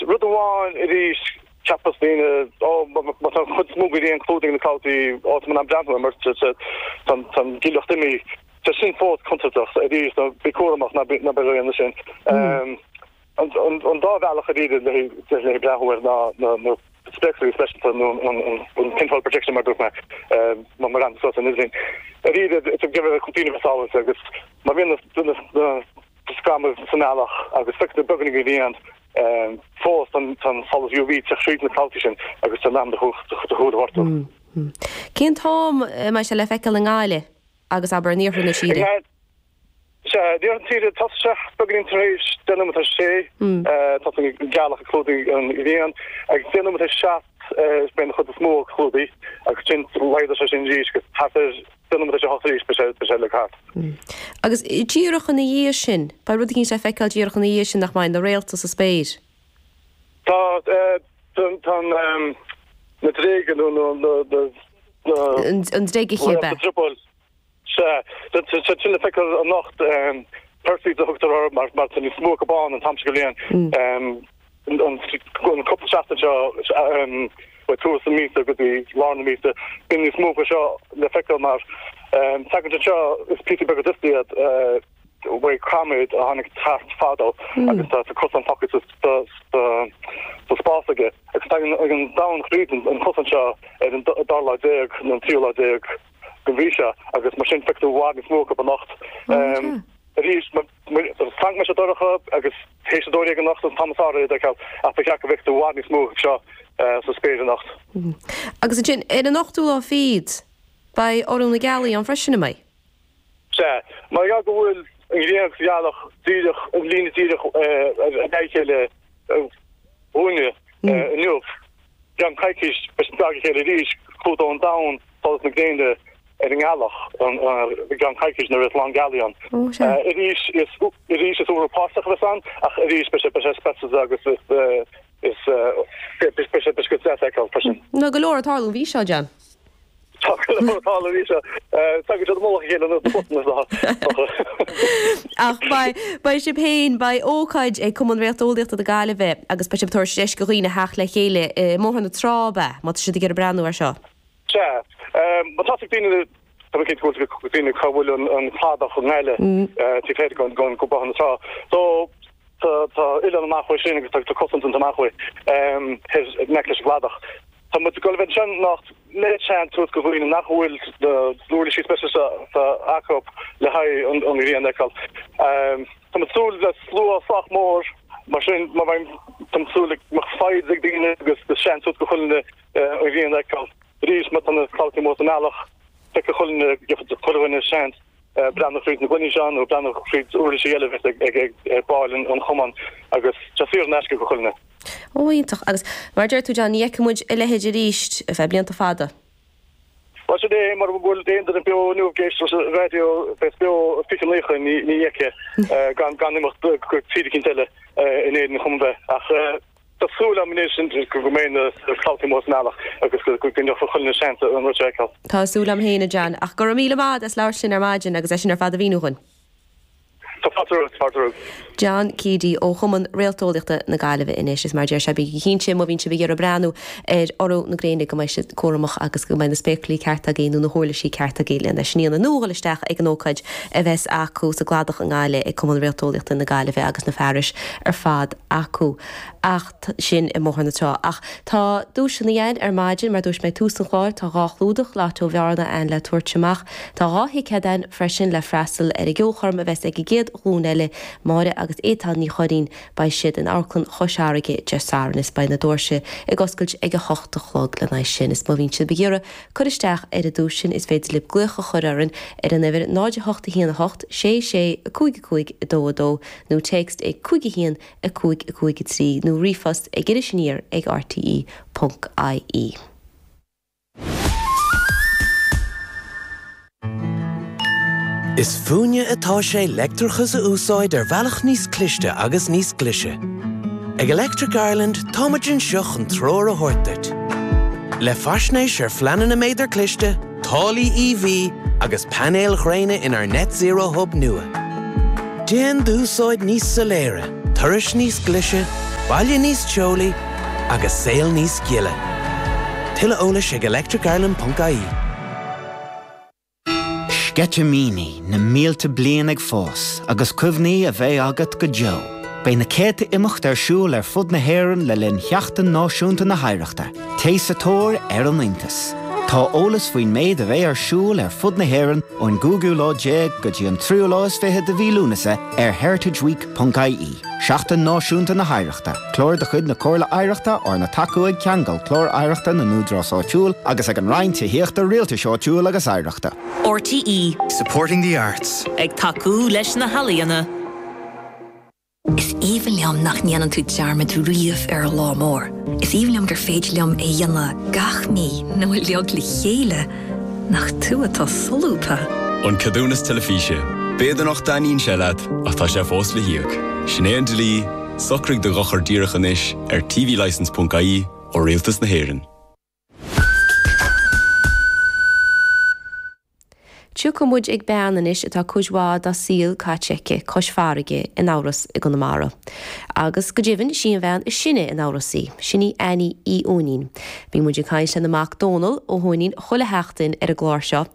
Rud amháin arís, cheapfadh daoine, ó, má tá an chuid is mó den ghrian clúdaithe ag na clabhtaí, ó, tá mé in ann breathnú air mar tá an ghileacht imithe. Tá sin fós contúirteach arís, nó bí cúramach, ná bí ag déanamh sin. An dá bhealach arís le haghaidh breathnú air ná na spéaclaí speisialta nó an pinhole projection mar a dúirt mé, má bhreathnaíonn tú suas ar an idirlíon. Arís, tá daoine a bheith sábháilte agus má bhíonn na scamaill sa mbealach agus feictear beagáinín den ghrian fós, tá an solas UV ag teacht tríd na clabhtaí sin agus tá in am do shúil a ghortú. Cén t-am a mbeidh sé le feiceáil i nGaillimh agus, abair, in iarthar na tíre? Sea, in iarthar na tíre, tosóidh sé beagáinín tar éis 6 nóiméad tar éis 6, tosaíonn an ghealach ag clúdú an ghrian, agus 7 nóiméad tar éis 7 beidh an chuid is mó clúdaithe agus ansin laghdóidh sé sin arís agus thart ar 10 nóiméad tar éis a 8 arís beidh sé beidh sé uilig thart. Agus díreach ina dhiaidh sin, beidh rud eicínt le feiceáil díreach ina dhiaidh sin nach mbeidh, na réalta sa spéir. Tá, tá an, na duilleoga nó na, na, na. An dreigechith, ab ea? Drioball. Sea, tá siad sin le feiceáil anocht, Perseids a thugtar orthu mar tá níos mó acu bán an t-am seo den bhliain. An cúpla seachtain seo, ó tús na míosa go dtí lár na míosa, bíonn níos mó acu seo le feiceáil mar tagann siad seo, is píosaí beaga dusta iad uaidh caiméad a tháinig thart fadó agus tá cosán fágtha sa spás aige. Agus tagann an domhan thríd an cosán seo ar an dara lá déag nó an tríú lá déag. den mhí seo agus mar sin feicfidh tú i bhfad níos mó acu anocht. Arís, fan go mbeidh sé dorcha agus théis a 12 anocht an t-am is fearr iad a fheiceáil ach ba cheart go bhfeicfidh tú i bhfad níos mó acu seo sa spéir anocht. Agus ansin, ar an ochtú lá fichead, beidh urú na gealaí ann freisin, an mbeidh? Sea. Mar gheall go bhfuil an ghrian agus an ghealach díreach, an líne díreach ar aghaidh a chéile dhúinne inniu, I gceann coicís, beidh siad gar dá chéile arís, clúdóidh an domhan solas na gréine ar an ngealach i gceann coicís nuair a bheas lán gealaí ann. Arís, is arís is urú páirteach a bheas ann, ach arís beidh sé beidh sé speisialta agus is is beidh sé beidh sé go deas a fheiceáil freisin. Tá go leor ag tarlú an mhí seo, John. Tá go leor ag tarlú an mhí seo. Tagann siad i mullach a chéile ar nós na busanna is dócha. Ach beidh, beidh sibh féin, beidh ócáid ag Cumann Réalteolaíochta na Gaillimhe agus beidh sibh ag tabhairt deis do dhaoine theacht le chéile i mBóthar na Trá, ab ea, má tá siad ag iarraidh breathnú air seo? Sea. Má tá ag daoine, tá mé cinnte go bhfuil ag daoine cá bhfuil an cladach i nGaillimh taobh thoir de Bhóthar na Trá. So, tá, tá oileán amach uaidh sin agus tá cosán amach uaidh, thoir in aice leis an gcladach. Tá muid ag dul a bheith ansin anocht le seans a thabhairt do dhaoine nach bhfuil na huirlisí speisialta acu le haghaidh an ghrian a fheiceáil. Tá muid ag súil le slua sách mór, mar sin má bheidh, tá muid ag súil go mbeadh foighid ag daoine agus seans a thabhairt do chuile dhuine an ghrian a fheiceáil. Arís, má tá na clabhtaí amuigh sa mbealach, feicfidh chuile dhuine, chuile dhuine seans. breathnú fríd na gloiní seo nó breathnú fríd uirlisí eile a bheas ag baill an chumainn agus tá sé saor in aisce do chuile dhuine. Ó, iontach. Agus mar a deir tú, John, ní fheicfidh muid a leithéid arís ar feadh blianta fada. Bhuel, sin é, mura bhfuil aon duine beo inniu ag éisteacht leis an raidió, bheas beo 20 90, ní fheicfidh, gan imeacht go tír eicínt eile in Éirinn chomh maith. Ach Tá súil agam anois go mbeidh na clabhtaí amuigh sa mbealach agus go ngeobhaidh chuile dhuine seans an rud seo a fheiceáil. Tá súil agam féin, a John. Ach go raibh míle maith agat as labhairt linn ar maidin agus é sin ar fad a mhíniú dhúinn. Tá fáilte romhat, fáilte romhat. John Keady ó Chumann Réalteolaíochta na Gaillimhe anois. Is mar a deir sé, bígí cinnte má bhíonn sibh ag iarraidh breathnú ar urú na gréine go mbeidh sibh cúramach agus go mbeidh na spéaclaí cearta agaibh nó na huirlisí cearta agaibh lena sin a dhéanamh nó a dhul isteach ag an ócáid a bheas acu sa gCladach i nGaillimh ag Cumann Réalteolaíochta na Gaillimhe agus na fearais ar fad acu. Ach sin i mBóthar na Trá. Ach tá duaiseanna againn ar maidin, mar dúirt mé ag tús an chláir, tá 2 chlúdach Lotto Bhearna againn le tabhairt amach. Tá 2 thicéad againn freisin le freastal ar an gceolchoirm a bheas ag an gcéad ghlúin eile, Máire agus Étáin Ní Churraoin. Beidh siad in Amharclann Chois Fharraige Dé Sathairn is beidh na doirse ag oscailt ag a hocht a chlog lena aghaidh sin. Is má bhíonn sibh ag iarraidh cur isteach ar an duais sin is féidir libh glaoch a chur orainn ar an uimhir 0 8 1 8 6 6 5 5 2 2 nó téacs ag 5 1 5 5 3 nó ríomhphost ag Iris Aniar ag rte ponc ie. Is fúinne atá sé leictreachas a úsáid ar bhealach níos cliste agus níos glaise. Ag Electric Ireland táimid anseo chun treoir a thabhairt duit. Le faisnéis ar phleananna méadar cliste, táillí EV agus painéil ghréine inár Net Zero Hub nua. Déan d'úsáid níos soiléire, turais níos glaise, Baile níos teolaí agus saol níos gile. Tuilleadh eolais ag electricireland.ie. Sceitimíní na mílte bliain ag fás agus cuimhní a bheidh agat go deo. Beidh na céadta imeacht ar siúl ar fud na hÉireann le linn Sheachtain Náisiúnta na hOidhreachta. Téigh sa tóir ar an iontas! Tá eolas faoin méid a bheidh ar siúl ar fud na hÉireann ón gcúigiú lá déag go dtí an tríú lá is fiche de mhí Lúnasa ar heritageweek.ie. Seachtain Náisiúnta na hOidhreachta, clár de chuid na Comhairle Oidhreachta arna tacú ag Ceangal Clár Oidhreachta na nÚdarás Áitiúil agus ag an Roinn Tithíochta, Rialtais Áitiúil agus Oidhreachta. RTÉ. Supporting the arts. Ag tacú leis na healaíona. Is aoibhinn liom nach ndéanann tú dearmad riamh ar an lá mór. Is aoibhinn liom gur féidir liom é a dhéanamh gach mí nó uilig le chéile. Nach tú atá solúbtha! An Ceadúnas Teilifíse. B'fhéidir nach dtaitníonn sé leat, ach tá sé fós le híoc. Sin é an dlí, socraigh do dhochar díreach anois ar tvlicence.ie ó Rialtas na hÉireann. Tiocfaidh muid ag bean anois atá cuid mhaith dá saol caite aici cois farraige in Eabhras i gConamara. Agus go deimhin, sí an bhean is sine in Eabhras í. Sin í Annie Uí Uaithnín. Bíonn muid ag caint lena mac Dónal Ó hUaithnín chuile sheachtain ar an gclár seo.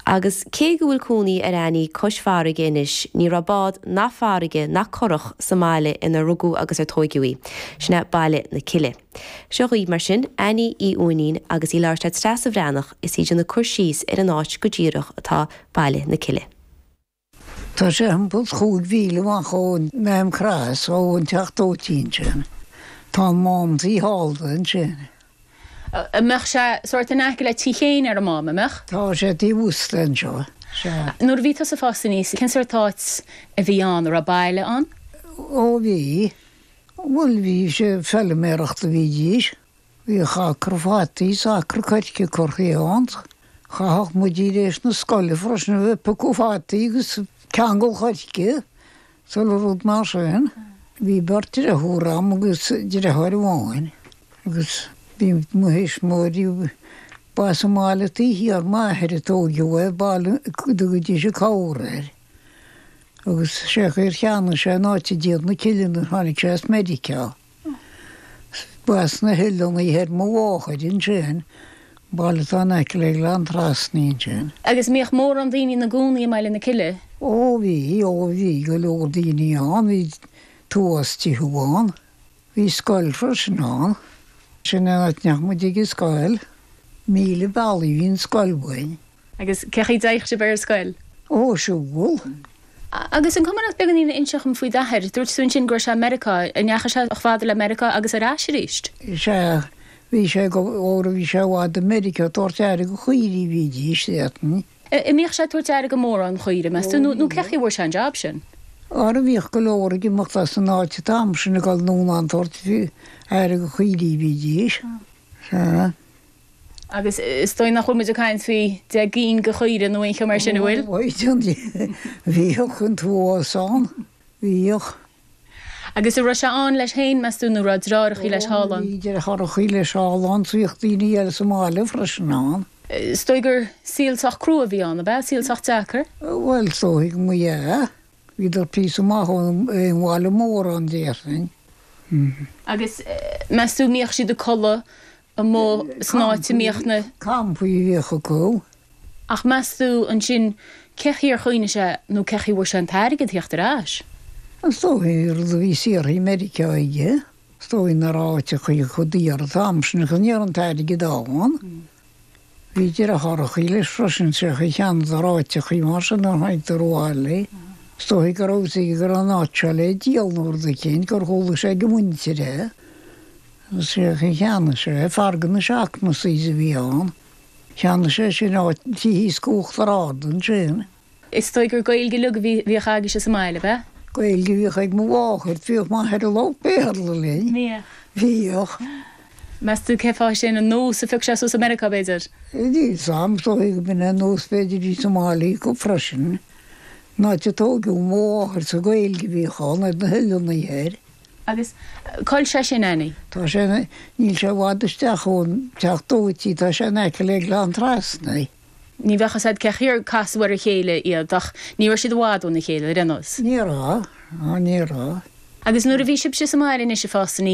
Agus cé go bhfuil cónaí ar Annie cois farraige anois, ní raibh bád ná farraige ná curach sa mbaile inar rugadh agus ar tóigeadh í. Sin é Baile na Cille. Seo dhaoibh, mar sin, Annie Uí Uaithnín agus í ag labhairt le Treasa Bhreathnach is í ag déanamh cur síos ar an áit go díreach atá Baile na Cille. Tá sé thimpeall chúig mhíle amach ón Maam Cross, ó an teach dóite ansin. Tá an mám taobh thall de ansin. An mbeadh sé sórt in aice le Tí Chéin ar an Mám, an mbeadh? Tá sé taobh thuas de anseo, sea. Nuair a bhí tusa ag fás aníos, cén sórt áit a bhí ann? An raibh baile ann? Ó bhí. Bhuel, bhí sé, feilméaracht a bhídís. Bhíodh acra fataí 's acra coirce curtha ann. Chaitheadh muid tar éis na scoile freisin a bheith ag piocadh fataí agus ceangal choirce 's uile rud mar sin. Bhí beirt deartháir a'm agus deartháir amháin agus bhí mo thuismitheoirí, ba sa mbaile taobh thiar m'athair a tóigeadh é, baile a dtugaidís an Cabhar air. Agus sé an chaoi ar cheannaigh sé an áit i dTír na Cille nuair tháinig sé as Meiriceá. Ba as na hOileánaí Thoir mo mháthair ansin, baile atá in aice le Gleann Trasna ansin. Agus an mbíodh mórán daoine ina gcónaí i mBaile na Cille? Ó bhí, ó bhí go leor daoine ann, bhí tuas tithe ann. Bhí scoil freisin ann. Sin an áit a ndeachaigh muid ag an scoil. Míle bealaigh bhí an scoil uainn. Agus cé chaoi dtéadh sibh ar an scoil? Ó, siúl. Agus an cuma leat beagáinín a inseacht dom faoi d'athair? Dúirt tú ansin go raibh sé i Meiriceá. An ndeachaigh sé chomh fada le Meiriceá agus ar ais arís? Sea, bhí sé go, óra bhí sé i bhfad i Meiriceá ag tabhairt aire do chaoirigh a bhídís, déarfainn. An mbíodh sé ag tabhairt aire do mhórán caoirigh, meas tú, nó cé chaoi a bhfuair sé an jab sin? Óra bhíodh go leor ag imeacht as an áit an t-am sin ag dul anonn ag tabhairt aire do chaoirigh a bhídís. Sea. Agus is dóigh nach bhfuil muid ag caint faoi 10 gcinn de chaoirigh nó aon cheo mar sin, an bhfuil? Ó, bhíodh an t-uafás ann, bhíodh. Agus an raibh sé ann leis féin, meas tú, nó raibh deartháireachaí leis thall ann? Bhí deartháireachaí leis thall ann, 's bhíodh daoine eile sa mbaile freisin ann. Is dóigh gur saol sách crua a bhí ann, ab ea? Saol sách deacair? Bhuel, is dóigh go mba ea. Bhíodar píosa maith ón bhaile mór ann, déarfainn. Agus meas tú, mbíodh siad ag codladh amuigh san áit a mbíodh na. Campaí a bhíodh acu. Ach meas tú ansin cé chaoi ar choinnigh sé nó cé chaoi a bhfuair sé an t-airgead theacht ar ais? Is dóigh rud a bhí saothraithe i Meiriceá aige. Is dóigh nach raibh áiteachaí chomh daor an t-am sin agus ní raibh an t-airgead ann. Bhí deartháireachaí leis freisin, sé chaoi cheannaíodar áiteachaí mar sin nuair a tháinigdar abhaile. Is dóigh go raibh fhios aige go raibh an áit seo le díol nó rud eicínt gur chuala sé ag a mhuintir é. Agus sé chaoi cheannaigh sé é, fear de na Shaughnessys a bhí ann. Cheannaigh sé sin áit tí thíos go Uachtar Ard ansin. Is dóigh gur Gaeilge uilig a bhíodh agaibhse sa mbaile, ab ea? Gaeilge a bhíodh ag mo mháthair, bhíodh m'athair ag labhairt Béarla linn. Bhíodh. Bhíodh. Meas tú cén fáth sin, an nós a phioc sé suas i Meiriceá, b'fhéidir? Níl 'fhios a'm, is dóigh go b'in é an nós b'fhéidir a bhí sa mbaile acu freisin. An áit a tóigeadh mo mháthair sa Ghaeilge a bhíodh ann ar na hOileánaí Thoir. Agus cá bhfuil sé sin, Annie? Tá sé, níl sé i bhfad isteach ón teach dóite, tá sé in aice le Gleann Trasna. Ní bheadh fhios a'd cé chaoi ar casadh ar a chéile iad ach ní raibh siad i bhfad óna chéile, ar aon nós. Ní raibh, ní raibh. Agus nuair a bhí sibhse sa mbaile anois ag fás aníos.